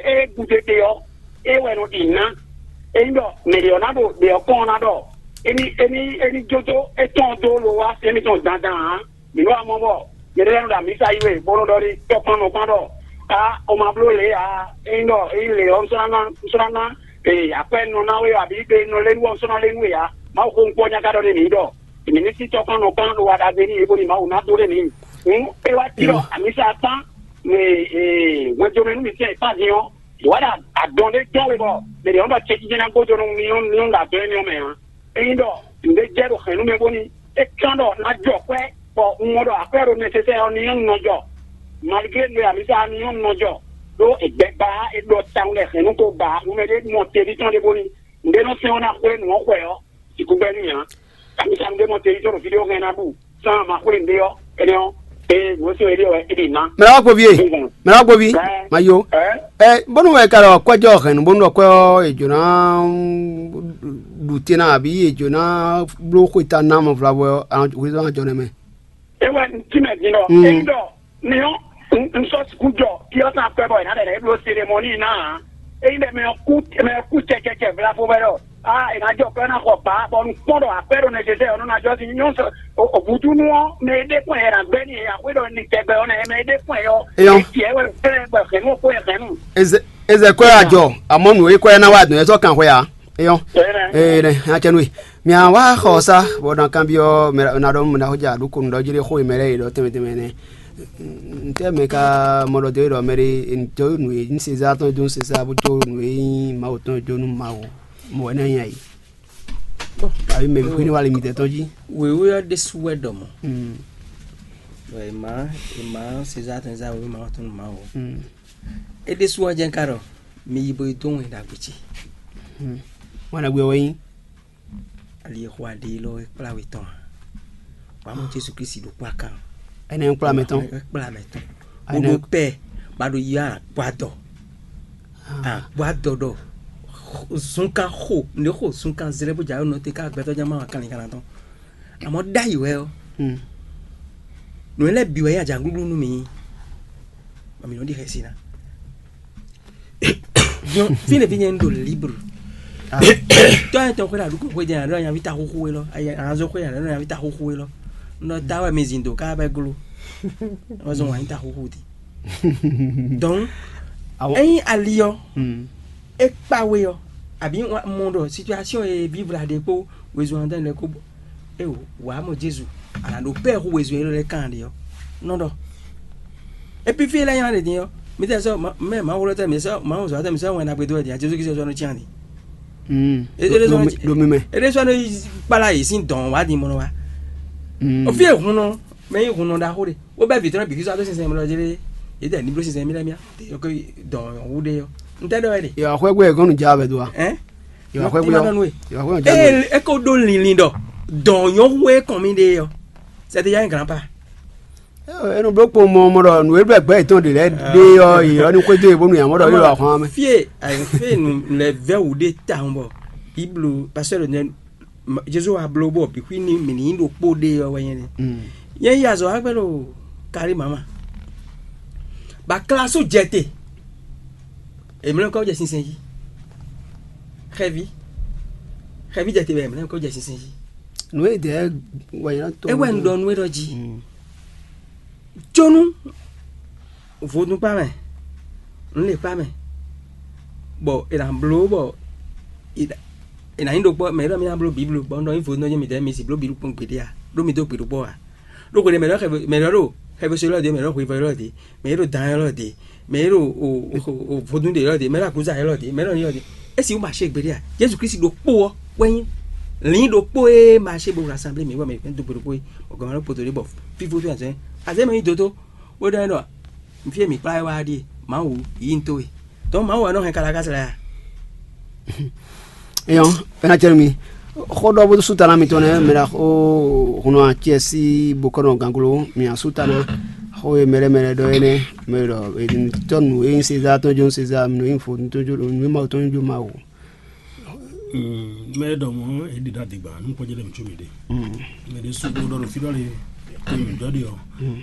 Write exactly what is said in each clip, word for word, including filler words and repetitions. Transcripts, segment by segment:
É gúdo te ɔ́, é wɛ nɔ ɖi ná. Ényí ɖɔ mɛ ɖě ɔ́ ná ɖo ɖě ɔ́ kɔn ɔ́ ná ɖɔ émí émí émí jójó étɔn dó lo wá sí émítɔn dandan ǎ. Mǐ nɔ wá mɔ bɔ nyɛɖée lɛ́ɛ nɔ ɖo amǐsa yí wɛ bó nɔ ɖɔ ɖi tɔkpɔn nɔ kpán ɖɔ á o ma bló lě ǎ. Ényí ɖɔ ényí lě ɔ́ un sɔ́ ná ná un sɔ́ ná ná ee akwɛ́ nɔ ná we ɔ abǐ ɖe nɔ lé nú ɔ́ un sɔ́ ná lé nú we ǎ. Mawu xó un kpɔ́ nyaka ɖɔ n'i mǐ ɖɔ mǐ ní sí tɔkpɔn nɔ kpán ɖo wa ɖagbe n'i é bóni Mawu ná dó ɖe mǐ. Hǔn é wá cí ɖɔ amǐsa kpán hwɛndomɛ nú mǐtɛn kpán din ɔ́, yě wá ɖo adɔn ɖé dɔn we bɔ mɛ ɖě nɔ ɖɔ cɛjijɛ ná gbójó nú mì ɔ́ mì nɔ ɖo adɔn énɛ́ ɔ́ mɛ ǎ. Ényí ɖɔ nǔɖé jɛ ɖo hɛ̌nnu mɛ bóni é kán ɖɔ ná jɔ kwɛ́, bɔ un mɔ ɖɔ akwɛ́ ɖo nɛsɛsɛ ɔ́ ní nyɔ́ nɔ jɔ. Maligré nǔ e amǐsa ɔ́ ní nyɔ́ nɔ jɔ, ɖó è gbɛ ba é ɖɔ tawun lɛ hɛ̌nnu ko ba nú mɛ ɖé mɔ teví tɔn ɖé bóni nǔɖé nɔ sɛn ɔ́ ná xwlé nǔ ɔ́ xwɛ ɔ́, sixú gbɛ́ n'i ǎ. Amǐsa nǔɖé mɔ teví tɔn ɖo fí ɖé ɔ́ hɛn ná ɖu sán ma xwlé nǔɖé ɔ́, énɛ́ ɔ́, ée nǔ ɔ́ sín wɛ ɖé wɛ é ɖi ná. Mɛ ɖɔ gbɔ vie. Mɛ ɖɔ gbɔ vi. Ma yo. Ɛ bónú wɛ ka ɖɔ kwɛjɔ hɛn bónú ɖɔ kwɛ ɔ́ è jǒ ná ɖu te ná àbí è jǒ ná bló xweta ná mɔ vlavɔ ɔ́, hwezɔ́n ajɔ nɛ mɛ. É wɛ un cí mɛ din ɖɔ ényí ɖɔ mi ɔ́ un sɔ́ sixú jɔ kí ɔ́ tán akwɛ́ bɔ è nǎ lɛ nǎ é bló selemɔníi ná ǎ. Ényí ɖɔ mɛ ɔ́ kú mɛ ɔ́ kú cɛcɛcɛ vlavo wɛ ɖɔ aa è nǎ jɔ kɔ é ná xɔ bǎ bɔ un kpɔ́n ɖɔ akwɛ́ ɖo nɛjɛjɛ ɔ́ nɔ́ ná jɔ sín nyɔ́ sɔ ògúdúnú ɔ́ mɛ e ɖe kpɔ́n ɛ ná gbɛ́ nì e axwé ɖɔ ni tɛgbɛ ɔ́ nɛ́ mɛ e ɖe kpɔ́n ɛ ɔ́. Eyɔ́. Tiɛ wɛ fɛ́ bɔ hɛ̌nnu xó ɛ hɛ̌nnu. Eze eze kwɛ ajɔ amɔ nǔ e kwɛ ná wa dɔn ɛ sɔ kan xwe a. Eyɔ́. Ee nɛ hã cɛ nú e. Mia wá xɔ sa bɔ na kanbyɔ mɛ na ɖɔ mɛ na xɔja ɖo konu ɖɔ jiri xo mɛ lɛ yi ɖɔ tɛmɛ tɛmɛ nɛ. Ntɛ mɛ ka mɔ ɖɔ de ɖɔ mɛ ɖe ntɔ nu e ní sezá tɔn dó sezá bó tó nu e nyí mawu tɔn dó nú mawu. Mɔ wɛ ne nya yi. Abi mɛ bi xwé ne wa le mi tɛ tɔn jí. Wěwé ɔ́ ɖésú wɛ ɖɔ mɔ. Bɔ è má è má sezá tɔn zá wěwé mawu tɔn nú mawu. É ɖésú ɔ́ jɛ́n ka ɖɔ mi yi bo yi dó wɛn ɖagbe ce. Wɛn ɖagbe ɔ́ wɛ nyí. Ali e xo aɖe élɔ́ é kplá we tɔn a? Wǎ mɔ Jezu Klísu ɖo kpó akan. Ɛnɛ ń kplá mɛ tɔn. É kplá mɛ tɔn. Bó ɖó pɛ ba ɖo yi agbadɔ. Agbadɔ ɖɔ zunkan xo ne xo zunkan zlɛ bó jɛ ayɔ nɔ te ká agbɛtɔ jama wa kanlin kan tɔn. Amɔ ɖ'ayǐ wɛ ɔ́, nǔ lɛ́ɛ bǐ wɛ nyí ajaglúglú nú mǐ. Bɔ mǐ nɔ ɖi xɛsi ná. Fínɛ́ fí nyɛ un ɖo libre. Tɔ́ nyɛ tɔn xwé ɖo aɖǔkún xwé jɛ aɖɔ nyaví ta xúxú we lɔ, anazɔ xwé aɖɔ nyaví ta xúxú we lɔ. Un ɖɔ ta wɛ mi zin do ká bɛ glo. Wọ́n zɔn wǎn nyí ta xúxú di. Donc, ényí ali ɔ́, é kpa we ɔ́, àbí mɔ ɖɔ situation e vívla ɖe kpó wezun adán lɛ kó eo wǎ mɔ Jezu, a nǎ ɖo pɛ́ hú wezun élɔ́ lɛ́ɛ kan ɖe ɔ́, nɔ ɖɔ. Epi fí lɛ́ɛ nylá ɖě din ɔ́, mi tɛ sɔ́ mɛ Mawu lɔ tɛ mi sɔ́ Mawu zɔ̌ tɛ mi sɔ́ wɛn ɖagbe dó wɛ din a Jezu Kristu sɔ́ nɔ cyán din. Ɖo mi mɛ. É ɖé sɔ́ nɔ kpala yě sín dɔ̌n wá din mɔ nɔ wá. O fí e hun nɔ mɛ nyí hun nɔ ɖaxó ɖe, wó bɛ́ vǐ tɔn bǐ Kristu adó sinsɛn mlɔ jlé. Yě dɛ ní bló sinsɛn mí lɛ́ɛ mía. Yɔ dɔ̌n wú ɖe ɔ́. Un tɛ ɖɔ wɛ ɖe. Yɔ axwɛ́gbɛ gɔ́n nǔ ja wɛ do a? Ɛn? Yɔ axwɛ́gbɛ. Ní ma ɖɔ nú we. Yɔ axwɛ́gbɛ ja. Ee, é ko ɖó linlin ɖɔ dɔ̌n nyɔ́ hu e kɔn mì ɖe ɔ́. Sɛtɛ ya nyí granpa. Enu bló kpo mɔ mɔ ɖɔ nǔ e ɖo gbɛ yětɔn ɖe lɛ́ɛ ɖe ɔ́, yě ɔ́ ní xwedó yě bónú yě mɔ ɖɔ yě ɖo ahwan mɛ. Fie ayɔfie nu lɛ vɛ wú ɖe tawun bɔ biblu pastor nɛ Jesu wa bló bɔ bixwi ní mì ní ɖo kpó ɖe ɔ́ wɛ nyɛ nɛ. Nyɛ yi azɔ agbɛ ɖo kari mama. Ba klasu jɛ te. Emlɛ kɔ jɛ sinsɛn yi. Xɛvi. Xɛvi jɛ te bɛ emlɛ kɔ jɛ sinsɛn yi. Nú e dɛ wɛ yɛn tɔ. Ewɛ un ɖɔ nú e ɖɔ jí. Jónú vodún kpa mɛ, nǔ lě kpa mɛ, bɔ è nǎ bló bɔ è nǎ nyí ɖokpɔ́ mɛ e ɖɔ mì ná bló bǐblu bɔ un ɖɔ nyí vodún ɔ́ jɛ́n mǐdɛɛ mi si bló bǐblu kpɔ́n gbeɖé a? Ɖó mi dó gbe ɖokpɔ́ a? Ɖó hweɖé mɛ ɖɔ xɛvi mɛ ɖɔ ɖo xɛvi so élɔ́ dě, mɛ ɖɔ hwevɔ élɔ́ dě, mɛ e ɖo dan élɔ́ dě, mɛ e ɖo vodún ɖě élɔ́ dě, mɛ e ɖo akúza élɔ́ dě, mɛ e ɖɔ ní élɔ́ dě. É sixú ma ṣe gbeɖé a? Jezu Kristi ɖokpó ɔ́ wɛ nyí lǐn ɖokpó e ma ṣe bo hwlá sanblé mǐ bɔ mǐ dó gbe ɖokpó é, bɔ gɔ̌n ma ɖo poto ɖé bɔ fífó fí azɔ̌ azɔ̌ mɛ nyí dódó. Bó ɖɔ nɔ fí e mǐ kplá wɛ wá ɖíe, Mawu yí n tó we. Donc Mawu wɛ nɔ hɛn kalakási lɛ́ɛ a? Eyɔn, fɛnɛ cɛ mi xɔ ɖɔ bó sú ta ná mitɔn nɛ mɛ ɖa xó hun nɔ acɛ sí bokɔnɔ ganglo mi asú ta ná xó e mɛɖɛ mɛɖɛ ɖɔ énɛ́ mɛ ɖɔ tɔnu e nyí Sezar tɔn jó Sezar, mi nɔ nyí fo tɔn jó mi Mawu tɔn jó Mawu. Mɛ ɖɔ mɔ e ɖi ɖa digba nu kɔjɛ ɖe mi tso mi ɖe. Mɛ ɖe su ɖo ɖɔ ɖo fi ɖɔ le ko mi ɖɔ ɖe ɔ.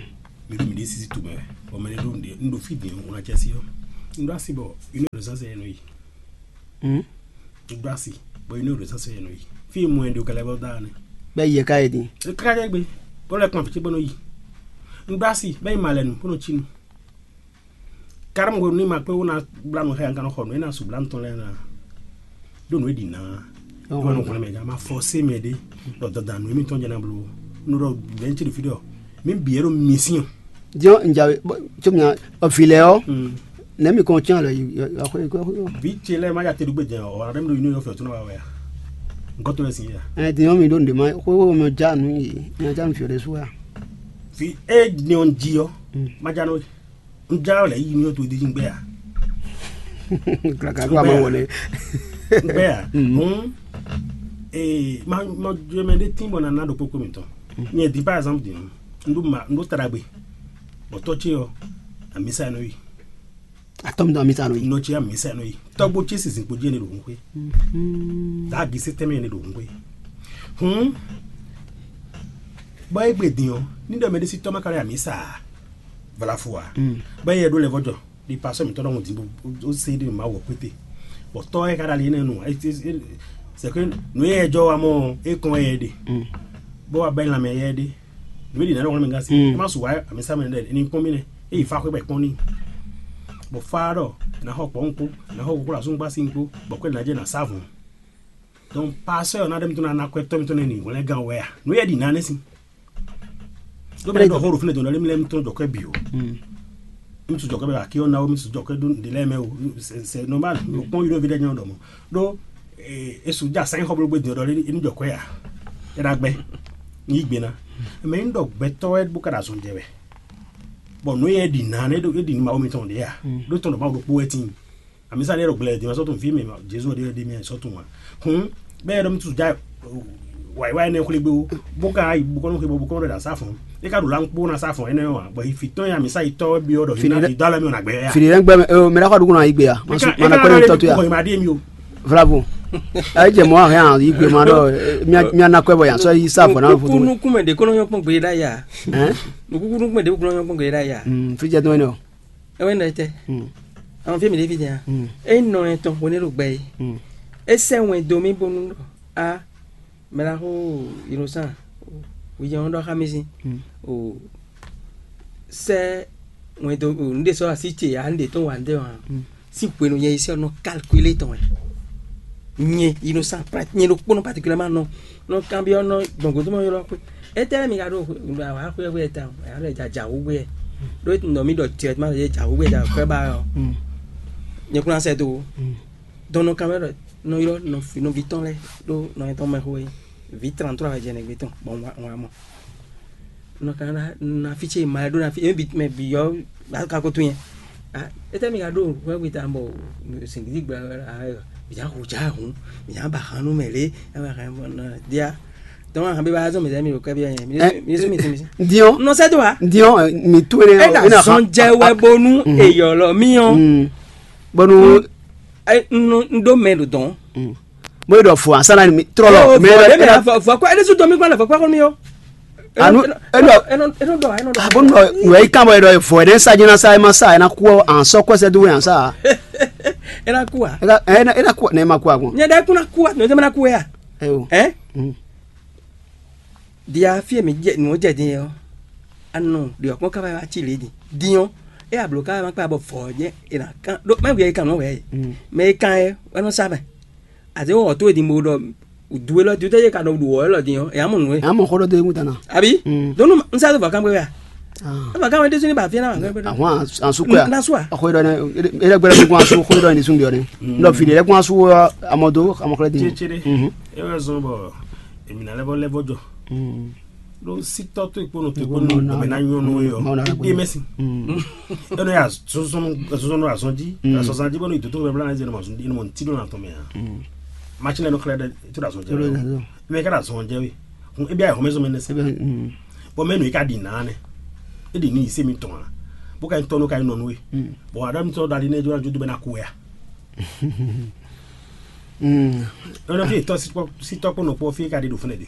Mi ɖo mi ɖe sisi tu mɛ. Ɔ mɛ ɖe ɖo mi ɖe nu ɖo fi ɖe o na cɛ si ɔ. Un ɖó asi bɔ une heure de temps yɛ nɔ yi. Un ɖó asi bɔ une heure de temps yɛ nɔ yi. Fí e mɔ ɛ ɖo kɛlɛ bɔ da ne. Bɛ yɛ ka yɛ din. Kaka jɛ gbe. Bɔ lɛ kpan fiti bɔ nɔ yi. Un ɖó asi bɛ yi ma lɛ nu bɔ nɔ tsi nu. Karam ko ni ma kpé wo na bla nu xɛ an kanɔ xɔ nu e na su bla nu tɔn lɛ na. Ɖo nu e ɖi na. Ɖo nu xɔlɛ mɛ ja ma fɔ se mɛ ɖe. Ɖɔ dɔdanu emi tɔn jɛ na blo. Nu ɖɔ bɛn tsi ɖo fi ɖɔ. Mi bi yɛ ɖo mi sin. Diɔ njawe tso mi ɔ fi lɛ ɔ. Nɛ mi kɔn tiɲɛ lɛ yi. Bi tse lɛ ma ya te ɖu gbé jɛ ɔ ɔrɔ ɖe mi ɖo yi n'o yɔ fɛ tó n'o wa wɛ ya. Nkɔ tó lɛ sin ya. Ɛ diɔ mi ɖo ŋɖe ma xó xó mi ja nu yi mi ja nu fi ɖe su ya. Fi e ni ɔ ji ɔ. Ma ja n'o yi. N ja lɛ yi n'o yɔ tó di ji gbɛ ya. Kaka kó a ma wɔlɛ. Gbɛ ya. Hɔn ee ma ma jɔ mɛ ɖe tin bɔ na na ɖo kpokpo mi tɔn. Nyɛ di par exemple di nu. N ɖo ma n ɖo ta ɖagbe. Bɔ tɔ ce ɔ amisa nɔ yi. Atɔ́ mi dɔn mi sa nɔ yi. Nɔ ce amisa nɔ yi. Tɔgbo ce sisin kpo jɛ ne ɖo hun xwe. Da gi se tɛmɛ ne ɖo hun xwe. Hun. Bɔ egbe din ɔ ni ɖɔ mɛ ɖe si tɔ ma ka ɖo amisa. Vala fo wa. Bɔ yɛ ɖo lɛ vɔjɔ. Di pasɔ mi tɔ ɖɔ ŋun di bo o se ɖe ma wɔ kpete. Bɔ tɔ yɛ ka ɖe ali ne nu. C'est que nu yɛ jɔ wa mɔ e kɔn yɛ ɖe. Bɔ wa bɛ lamɛ yɛ ɖe. Nǔ e ɖi nǎ ɖɔ hwlɛ́n mɛ gán sí. Mm. É má su wǎ amǐsá mɛ lɛ́ɛ ní kpɔ́n mì nɛ́. É yi fá xwé bɔ è kpɔ́n n'i. Bɔ fá ɖɔ è nǎ xɔ kpɔ̌ kpó, è nǎ xɔ kuklú asúngbá sí kpó, bɔ kwɛ́ nǎ jɛ nǎ sá vɔ̌n. Donc pasɛ́ ɔ́ ná ɖe mì tó ná ná kwɛ́ tɔ́ mì tɔn nɛ́ nǐ hwlɛ́n gán wɛ a? Nǔ e ɖi nǎ nɛ́ sín. Ɖó mɛ ɖɔ xó ɖo fínɛ́ dɔn ɖɔ émí lɛ́ɛ mì tɔn jɔ kwɛ́ bǐ ó. Mm. Mì su jɔ kwɛ́ bɛ akí ɔ́ ná ó, mì su jɔ kwɛ́ dó ɖě lɛ́ɛ mɛ ó. C'est normal. Kpɔ́n yi ɖó ví ɖé nyɔ́ ɖɔ mɔ̌. Ɖó e su ja sɛn xɔ blógbé din ɔ́ ɖɔ é ní jɔ kwɛ́ ǎ. É ná gbɛ́ ní yí gbe ná. Mɛ ní ɖɔ gbɛtɔ́ wɛ bó ka ɖo azɔn jɛ wɛ. Bɔ nǔ e ɖi nǎ nɛ́ ɖo é ɖi nú Mawu mitɔn ɖě ǎ. Ɖó tɔn ɖɔ Mawu ɖokpó wɛ tíin. Amisa ɖe ɖo gblɛ din ma sɔ́ tun fí mɛ Jezu ɖe ɖe mɛ sɔ́ tun ǎ. Hun bɛ́ ɖɔ mi tu ja wǎyi wáyi nɛ́ xwlé gbé ó. Bó ka yi bó kɔ́ nɔ xwé bɔ bó kɔ́ nɔ ɖo asá fɔ́n. É ka ɖo lan kpó ná sá fɔ́n énɛ́ ɔ́ ǎ. Bɔ yi fǐ tɔn ya mi sá yi tɔ́ byɔ́ ɖɔ yi dó alɔ mi ɔ́ nǎ gbɛ yá. Fili ɖe gbɛ mɛ ɔ mɛ ɖaxɔ ɖukun na yi gbe ya. Masu mana kɔni tɔtu ya. Kɔn yi ma ɖe mi o. Vlavo. Ayi jɛ mɔ ahɛ an yi gbe ma ɖɔ mia na kɔɛ bɔ yan sɔ yi sa fɔ na fɔ. Nukunu kun mɛ de kɔnɔ nyɔ kpɔn gbe da ya. Nukunu kun mɛ de kɔnɔ nyɔ kpɔn gbe da ya. Fi jɛ dɔn ne o. Ewe nɔ tɛ. Àwọn fi mi de fi jɛ ya. E nɔ etɔn ko ne ɖo gbɛ yi. E sɛ wɛn do mi bonu ɖɔ a mɛ la xo inosan. Wi jɛ wọn ɖɔ xa mi si. O sɛ wɛn do o nu de sɔ asi ce ya nu de tɔn wa nu de wa. Si hwenu nyɛ yi sɛ nɔ calculer tɔn wɛ. Nyɛ yi nɔ sa pra nyɛ ɖo kpɔnɔ particulièrement nɔ nɔ kanbyɔ nɔ gbɔngbɔn tó ma ylɔ xwe. Etɛ mi ka ɖo awa xwe xwe ta o ya lɛ dza dza wo gbɛ. Ɖo nɔ mi ɖɔ tiɛ ma ye dza wo gbɛ dza kɔɛ ba yɔ. Nyɛ kuna sɛ do. Dɔn nɔ kanbyɔ nɔ ylɔ nɔ fi nɔ vi tɔn lɛ ɖo nɔ yɛ tɔn mɛ xwe. Vi trente-trois wɛ jɛ nɛ gbe tɔn bɔn wa wa mɔ. Nɔ ka na na fi ce ma ɖo na fi ebi mɛ bi yɔ ba ka ko to yɛ. Ah, ete mi ka ɖo hwɛ gbe ta bɔ singidi gba a mi ja hu ja hu mi ja ba hanu mɛ le e ma hɛn bɔ na dia. Donc a hɛn bi ba zɔn mi zɛ mi o kɛ bi yɛ mi mi su mi ti mi si. Diɔn. Nɔ sɛ do wa. Diɔn mi tu ne. E na sɔn jɛ wɛ bonu eyɔlɔ mi yɔ. Bonu. N ɖo mɛ ɖo dɔn. Mo ɖɔ fo asana mi trɔ lɔ. Mɛ ɖe mi fɔ fɔ kɔ ɛdi su dɔn mi kɔ lɛ fɔ kɔ mi yɔ. Anu enu enu enu dɔ enu dɔ. Abo nɔ nɔ yi kan bɔ yɛ dɔ fɔ yɛ sa jina sa ma sa yɛ na ku an sɔ kɔsɛ do yan sa. Ena ku a. Ena ena ku ne ma ku a kun. Nyɛ dɛ kuna ku a ne ma na ku ya. Eyo. Ɛ. Dia fi e mi jɛ nǔ jɛ din ɔ́, anɔ ɖiɔ kpɔ́n káfá wá ci lě din. Din ɔ́, é ablo káfá ma kpá bɔ vɔ̌ jɛ è nǎ kán ɖó má wia é kan nǔ wɛ é. Mɛ é kán é wɛ nɔ sá mɛ. Àti wɔ tó din bo ɖɔ du élɔ́ din tɛ́ yé ka nɔ ɖu wɔ élɔ́ din ɔ́, é á mɔ nǔ é. Amɔ xɔ ɖɔ do ewu tana. Àbí? Dɔnnu n sá tó vɔ kán gbé wɛ a? Eva kán wɛ ɖésú ní ba fíɛ náà wà gbé. Àwọn àsukò yà. N da sùà. Ọkọ yìí dọ ní ilé gbẹrẹ gbogbo àsukò yìí dọ ní sunbi ọdún. Lọ fìdí ẹkún àsukò amọdó amọkọlẹ dín. Tsetsere. Ewé zɔn bɔ èmi nà lẹ́bọ̀ lẹ́bọ̀ jọ. Ɖo sítɔ tó ìkpónú tó ìkpónú ọ̀bẹ náà nyɔ́ nù yọ. Ìdí mẹ́sì. Ẹnu yà sọ́sọ́nù àzọ́njí. Àzọ́njí bọ́nú ìdótó bẹ́ẹ̀ blanc ẹ̀zẹ̀ ní mọ̀ ntí ló nà tọ́ mẹ́ yà. Machine lẹ́nu kílẹ̀ dẹ́ tó dà zọ́njẹ́ wẹ́. Mẹ́ ká dà zọ́njẹ́ wẹ́. Ebi ayé xɔmɛ zɔmɛ nɛsɛ. Bɔn mɛ nu yi ka ɖi na nɛ. E ɖi ni yi se mi tɔn a. Bo ka yi tɔnu ka yi nɔnu we. Bɔn adam tɔ dali ne jɔ ju do bɛ na ku ya. Ɔnɔ fi tɔ si tɔ kpɔ nɔ kpɔ fi ka ɖi do fúnɛ de.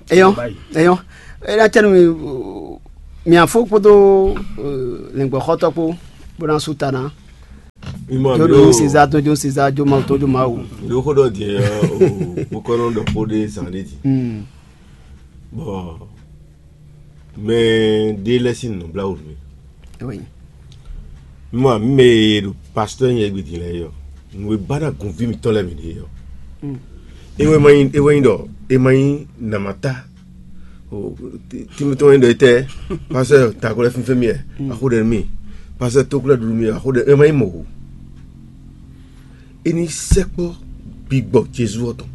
Eyɔn eyɔn. Ena tsɛnu mi mi afo kpodo lɛngbɔ xɔtɔ kpo. bó ná sú ta ná. Jó ɖo Sezaa tɔn jó Sezaa, jó Mawu tɔn jó Mawu. Ɖó xó ɖɔ din ɔ́, o bó kɔ́ nɔ ɖɔ xó ɖé zǎn ɖé din. Bɔ mɛ ɖé lɛ́ sín nǔbláwǔ nú mì. Mɛ mɛ e ɖo pastɔ́ nyɛ gbe din lɛ́ɛ ɔ́, nǔ e ba ná gunví mitɔn lɛ́ɛ mi ɖe ɔ́, é wɛ ma nyí é wɛ nyí ɖɔ é ma nyí namata. Tímítɔn nyí ɖɔ étɛ́? Pastɔ́ Takolɛ fínfɛ́n mì wɛ, axó ɖɛ nú mì. Pastɔ́ Tóklɛ́ ɖuɖu mì wɛ, axó ɖɛ é ma nyí mɔ̌ ó. É ní sɛkpɔ́ gbigbɔ Jezu ɔ́ tɔn,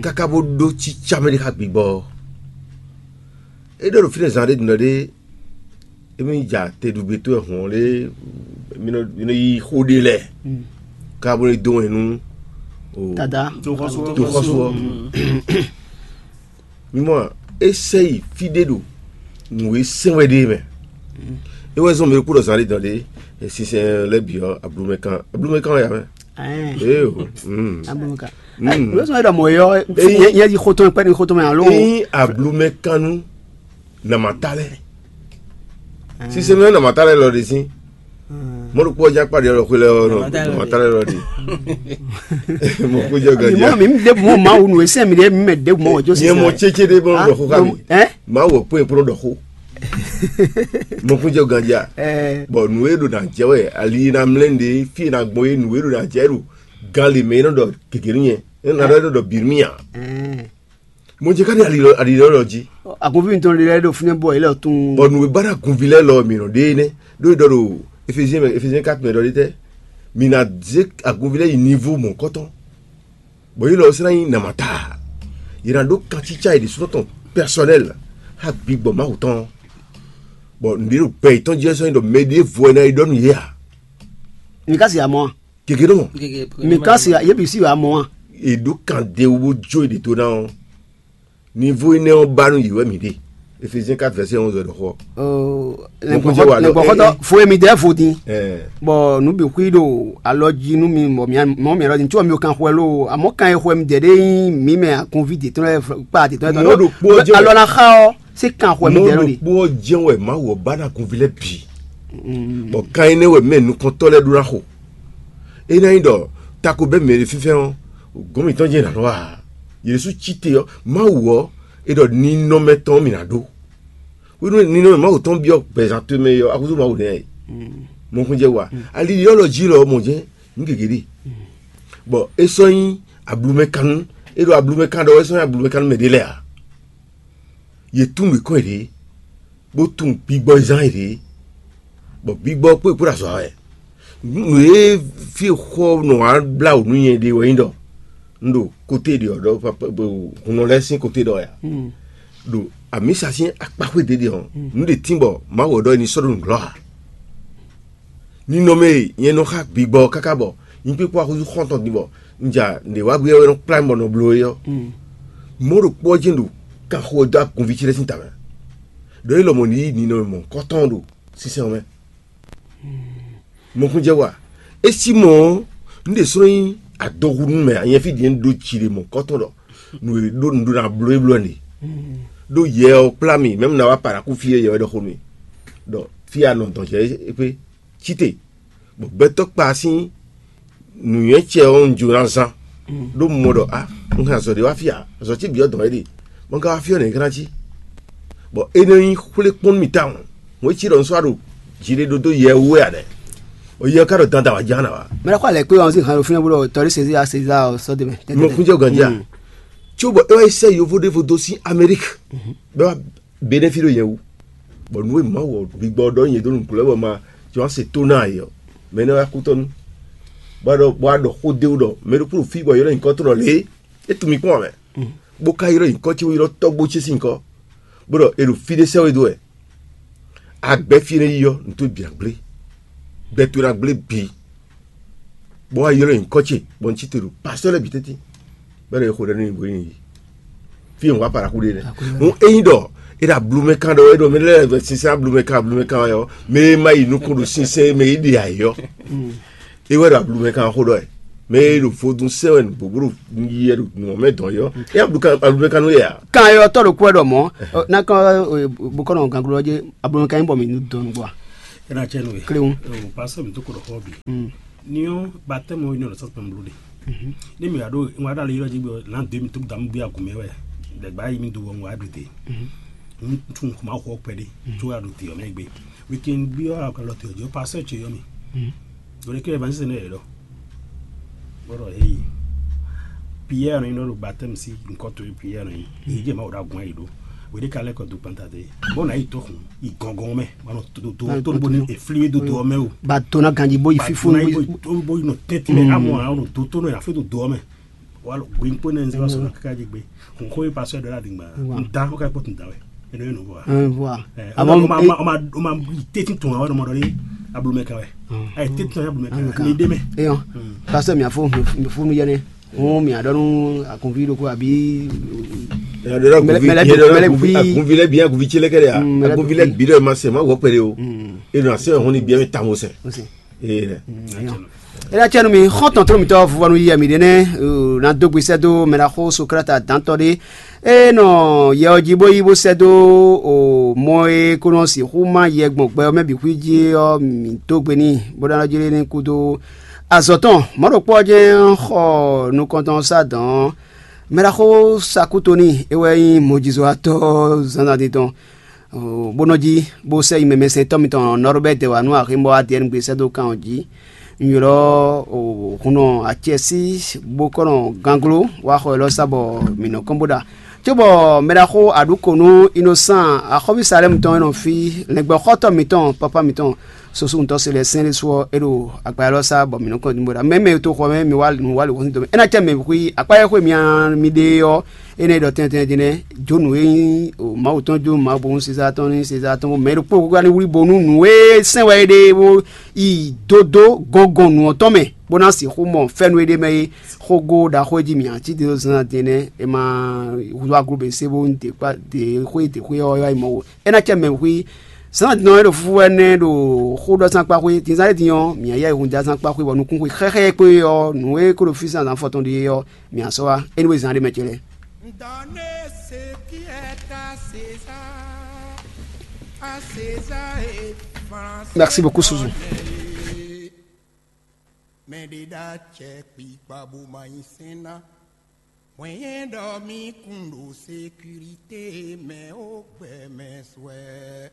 káká bó ɖó cícá mɛ ɖé xá gbigbɔ ɔ́. É ɖɔ ɖo fínɛ́ zán ɖé ɖɔ ɖé émí ja te ɖu gbé towe hɔn lé, mí nɔ yí xó ɖé lɛ́ɛ ká bó lɛ́ dó wɛn nú o Dada. Toxɔsú ɔ́. Mí mɔ é sɛ yi fí ɖé ɖo nǔ e sɛn wɛ ɖe mɛ. É wɛ zɔn mɛ kú ɖɔ zán ɖé dɔn ɖé, sinsɛn lɛ́ bǐ ɔ́, ablumɛ kan ablumɛ kan wɛ ya mɛ. Ee o. Ablumɛ kan. Ló sɔn é ɖɔ mɔ̌ yɔ nyɛ yi xotɔn kpɛ́ ní xotɔn mɛ alo. Ényí ablumɛ kan nú namata lɛ. Sinsɛn mɛ namata lɛ lɔ ɖe sín. Mɔɖokpɔ ɔ́ já kpa ɖiɖɔ xwé lɛ́ɛ ɔ́ nɔ. Mɔtalɛ lɔ ɖi. Mɔkúnjɛ Mɔ ganjá. Mi ɖe mɔ Mawu nú esɛ mi ɖe mi mɛ ɖe mɔ jo Nyɛ mɔ tsetse ɖé bɔ ɖɔ xó xá mi. Ɛ? Mawu ɔkpɛn kplɔ ɖɔ xó. Mɔkúnjɛ ganjá. Ɛ. Bɔ nǔ e ɖo na jɛ wɛ ali na mlɛ ɖe fi na gbɔn ye nǔ e ɖo na jɛ ɖo gan le mɛ e nɔ ɖɔ gègé nú nyɛ e nɔ ɖɔ ɖɔ bǐ nú mì a. Ɛ. Mo jɛ ká ɖi ali lɔ ali lɔ lɔ jí. Agunví mitɔn ɖe lɛ́ɛ ɖo fínɛ́ bɔ yě lɛ tún. Bɔ nǔ e ba ɖo agunví lɛ́ɛ lɔ mǐ nɔ ɖe énɛ́ ɖó é ɖɔ ɖo Efezín mɛ Efezín ká mɛ ɖɔ ɖe tɛ́? Mǐ ná zé agunví lɛ́ɛ yi nivo mɔ̌hunkɔtɔn. Bɔ yě lɔ sɛ́ ná nyí namata. Yě ná ɖó kancícá yě ɖésúnɔ tɔn pɛsɔnɛl xá gbigbɔ Mawu tɔn. Bɔ nǔɖé ɖo gbɛ yětɔn jí wɛ sɔ́ nyí ɖɔ mɛ ɖěvo wɛ ná yi ɖɔ nú yě ǎ. Mi ka si amɔ a? Gěgé nɔ mɔ. Mi ka si yě bǐ si wɛ amɔ a? È ɖó kan ɖe wú bó jó è ɖě dó ná ɔ́. Nivo énɛ́ ɔ́ ba nú yě wɛ mǐ ɖe. Efezín quatre verset onze wɛ ɖɔ xɔ. Nɛgbɔxɔtɔ fo e mi dɛ vo din. Bɔ nu bǐ xwí ɖo alɔ jí nú mi bɔ mɔ mi alɔ din tí wɔ mi kan xwɛ lo amɔ kan e xwɛ mi dɛ ɖe nyí mi mɛ agunví de tɔn kpa de tɔn. Mɔ ɖo kpó jɛ alɔ na xa ɔ se kan xwɛ mi dɛ ɖo de. Mɔ ɖo kpó jɛ wɛ ma wɔ ba na gunví lɛ bǐ. Bɔ kan énɛ́ wɛ mɛ nukɔntɔ lɛ ɖó na xo. É ná nyí ɖɔ tako bɛ́ mɛ ɖé fínfɛ́n ɔ́, gɔ̌n mǐtɔn jɛ́n è nǎ nɔ wa ǎ. Yě ɖésú cí te ɔ́, Mawu ɔ́, é ɖɔ ninɔmɛ tɔn mǐ ná ɖó. Hwenu e ninɔmɛ Mawu tɔn byɔ́ gbɛzán towe mɛ é ɔ́, axúzú Mawu nɛ́ ɛ. Mɔkúnjɛ wa. Ali ɖiɖɔ́lɔ jí lɔ ɔ́ mɔ jɛ́n nǔ gěgé ɖe. Bɔ é sɔ́ nyí ablumɛkannú, é ɖo ablumɛkan ɖɔ wɛ é sɔ́ nyí ablumɛkannú mɛ ɖé lɛ́ɛ ǎ. Yě tunwun mǐ kɔn yěɖée, bó tunwun gbigbɔ e zán yěɖée, bɔ gbigbɔ ɔ́ kpó è kpó ɖo azɔ̌ wa wɛ. Nǔ e fí e xɔ nɔ wá blá wǔ nú nyɛ ɖe wɛ nyí ɖɔ un ɖo kote ɖě ɔ́ ɖɔ hunnɔ lɛ́ɛ sín kote ɖɔ wɛ a? Ɖo amǐsa sín akpa xwé ɖě ɖe ɔ́, nǔ ɖě tín bɔ Mawu ɔ́ ɖɔ é ní sɔ́ ɖo nǔglɔ́ ǎ. Ninɔmɛ e nyɛ nɔ xa gbigbɔ ɔ́ káká bɔ nyí kpékpó axúzú xɔ́ntɔn din bɔ un ja nǔɖé wá gbé wɛ nɔ kplá mì bɔ nɔ bló é ɔ́, mɔ̌ ɖokpó ɔ́ jɛ́n ɖo kanxo ɔ́ dó agunví ce lɛ́ɛ sín tamɛ, ɖɔ é lɔmɔ̌ ní yí ninɔmɛ mɔ̌hunkɔtɔn ɖo sínsɛ́n ɔ́ mɛ. Mɔkúnjɛ wa, é sí mɔ ɔ́, un ɖe slɔ́ nyí adohu nú mɛ anyɛ́ fí din ɖó jiɖe mɔ̌hunkɔtɔn ɖɔ nǔ e ɖó un ɖó ná bló é bló ɛnɛ. Ɖó yɛ ɔ́ kplá mì mɛ̌ un ná wá paɖakú fí e yɛ wɛ ɖɔ xó nú mì ɖɔ fí e a nɔ dɔn jɛ é kpé. Cíte, bɔ gbɛtɔ́ kpa sín nǔnywɛ́ ce ɔ́ un jló ná zán, ɖó un mɔ ɖɔ a un hɛn azɔ̌ ɖé wá fí ǎ, azɔ̌ ce bǐ ɔ́ dɔn wɛ ɖe, bɔ un ka wá fí ɔ́ nɛ̌ é ka ná cí? Bɔ é nɔ nyí xwlé kpɔ́n nú mì tawun, hwɛ̌ cí ɖɔ un sɔ́ wá ɖo jiɖeɖódó yɛ wú wɛ ǎ nɛ́? Bɔ yɛ ɔ́ ka ɖɔ dandan wǎ ján ná wá. Mɛ ɖaxó alɛ kpé ɔ́ sin hɛn ɖo fínɛ́ bó ɖɔ tɔrí Sezí a Sezaa ɔ́ sɔ́ dó mɛ. Mo kún jɛ gǎnjá. Có bɔ é wá yi sɛ́ yovó ɖěvo dó sín Amérique, bɔ é wá Benɛ́ fí ɖo nyɛ wú, bɔ nǔ e Mawu ɔ́ gbigbɔ ɔ́ ɖɔ nyɛ dó nǔgbó lɛ́ɛ bɔ ma jɔ wá se tó ná ǎ é ɔ́, mɛ énɛ́ wá kútɔ́ nú, bɔ a ɖɔ bɔ a ɖɔ xó d'é wú ɖɔ mɛ ɖokpó ɖo fí bɔ è ylɔ́ nyǐkɔ tɔn ɖɔ lě é tunwun mì kpɔ́n ǎ mɛ, bó ka ylɔ́ nyǐkɔ ce bó ylɔ́ tɔ́gbó ce sín nyǐkɔ, bó ɖɔ è ɖo fí ɖé sɛ́ we dó wɛ. A gbɛ́ fí énɛ́ yi ɔ́, nǔ towe bǐ ná gblé. Gbɛ towe ná gblé bǐ. Bó wá ylɔ́ nyǐkɔ ce, bɔ un cí te ɖo pasɔ́ lɛ́ɛ bǐ tɛ́ntin, bɔ é ɖo xo ɖɛ nú nyi bó yi. Fí e un wá paraxú ɖe nɛ́. Hǔn ényí ɖɔ é ɖo ablumɛ kan ɖɔ é ɖo mɛ lɛ́ɛ sinsɛn ablumɛ kan ablumɛ kan wɛ ɔ́, mɛ e ma yi nukún ɖo sinsɛn mɛ e ɖe ayǐ ɔ́, é wɛ ɖo ablumɛ kan xó ɖɔ wɛ. Mɛ e ɖo vodún sɛn wɛ nǔgbó ɖo yi wɛ ɖo nǔ mɛ dɔn yi ɔ́, é ablu kan ablumɛ kan nú yɛ a? Kan yɔ tɔ́ ɖo kú wɛ ɖɔ mɔ̌, nakɔ bukɔnɔ ganglo ɔ́ jɛ ablumɛ kan nyí bɔ mǐ nú dɔn nǔgbó a? Ena cɛ nu we. Kléwɔn. O pastor mi to ko ɖɔ xɔ bi. Ni ɔn, batɛmu ɔ́, ni ɔn ɖo sɔsɔ mɛ blu de. Ni mi aɖo ŋwa ɖe ali yɔ dzi gbɔ lan de mi to damu bi agun mɛ wɛ. Dɛgba yi mi do wɔ ŋwa ɖu de. Ŋutsu ŋku ma xɔ kpɛ de. Tso aɖu de ɔmɛ gbe. Weekend bi ɔ alɔ te ɔjɔ pastor tse yɔ mi. Ɖo ɖe kɛ evangeliste ne yɛ ɖɔ. Bɔrɔ heyi. Pierre nɔ yin nɔ ɖo batɛmu si nkɔ to Pierre nɔ yin. Yi jɛ ma wɔ ɖo agun ayi ɖo. Wede ka lɛ kɔ do kpanta te. Bɔ na yi to xun. Yi gɔngɔn mɛ. Bɔ nɔ to to to bo ni efli do do mɛ o. Ba to na ganji bo yi fifu. Ba to na yi bo bo yi nɔ tɛnti mɛ. Amɔ anɔ do to nɔ ya fi do do mɛ. Walo gbin kpo ne nzɛ sɔ kaka ji gbe. Kun ko yi pasɔ dɔ la dingba. Nda ko ka kpo tun da wɛ. Eno eno bɔ. Ɛn, voilà. Ɛ, Ama o ma o ma o ma o ma teti tun awɔ mɔ dɔ ni. Ablu mɛ ka wɛ. Ayi teti tun ablu mɛ ka wɛ. Ni de mɛ. Eyɔn. Pastor mi afo mi funu yɛnɛ. Ŋu mi aɖɔ nu akunvi ɖokpo abi. Mɛlɛ- mɛlɛ- mɛlɛ- Akunvi lɛ bi akunvi tse lɛ kɛ de ya. Mm, mɛlɛ- Akunvi lɛ bi dɔ ma se ma wɔ kpɛ de o. Eno ase hɔn ni bi mɛ tamo sɛ. Ose. Ee dɛ. Ena cɛnu mi xɔntɔn tɔn mitɔ vuvɔnu yi mi ɖe nɛ na do gbesɛ do mɛɖaxo Sokrate dantɔ ɖe. E nɔ yɛ ɔ ji bó yi bó sɛ dó o mɔ e ko nɔ sixú má yɛ gbɔn gbɛ ɔ́ mɛ bǐ xwí jí ɔ́, mǐ dó gbe n'i bó ɖɔ jí ní kúdó azɔ̌ tɔn. Mɔ̌ ɖokpó ɔ́ jɛ́n xɔ nukɔntɔn sá dɔn ɔ́, mɛɖaxó Sakútoni é wɛ nyí mɔjizɔ́watɔ́ zǎnzǎn din tɔn. Bó nɔ jí bó sɛ́ yi mɛmɛsɛntɔ́ mitɔn Nɔrubɛ́ti wá nú aximɔ Adiɛnigbe sɛ́ dó kan ɔ́ jí. Un ylɔ́ hunnɔ acɛsí bó kɔ́ nɔ gangló wá xɔ élɔ́ sá bɔ mǐ nɔ kɔn bó ɖa. Cóbɔ mɛɖaxó aɖǔkonu Inosán axɔ́ví Salɛ́mu tɔn e nɔ fí lɛngbɛxɔ́tɔ́ mǐtɔn pápá mǐtɔn Sosuntɔ́ se lɛ́ɛ sɛn ɖésú ɔ́, é ɖo agba élɔ́ sá bɔ mǐ nɔ kɔn bó ɖa. Mɛ mɛ e to xɔ mɛ mi wá nǔ wá lǒ hɔn dɔmɛ. É ná cɛ mɛ xwí akpá e xwe mi mi ɖe ɔ́, énɛ́ ɖɔ tɛntɛn din nɛ́, jó nǔ e nyí Mawu tɔn jó Mawu bónú Sezaa tɔn ní Sezaa tɔn, bɔ mɛ ɖokpó gúgá ní wlí bónú nǔ e sɛn wɛ é ɖe bó yi dó dó gɔngɔn nǔ ɔ́ tɔn mɛ, bó ná sixú mɔ fɛ́nú e ɖ'é mɛ é. Xógó ɖaxó e jí mǐ cí dó zán din nɛ́, è ma húzú aglǔbɛ́ se bó dě xwé dě xwé ɔ́ yá yi mɔ wo. É ná cɛ mɛ xwí zán din ɔ́ é ɖo fúfú wɛ nɛ́ ɖo xó ɖɔ zán kpá xwé, din zán é din ɔ́, mǐ yá yi hun da zán kpá xwé bɔ nukún xwé xɛxɛ kpé ɔ́, nǔ e kó ɖo fí zán zán fɔtɔn ɖe é ɔ́, mǐ á sɔ́ wá. Énúwe zán ɖé mɛ ce lɛ́ɛ. Donnez ce qui est à César, à César et François. Merci beaucoup, Souzou. Mɛ ɖé ɖo acɛ kpikpa bó ma nyi sɛn ná. Hwɛ̌n ɖɔ mì kún ɖo sécurité mɛ ó gbɛ mɛ swɛ.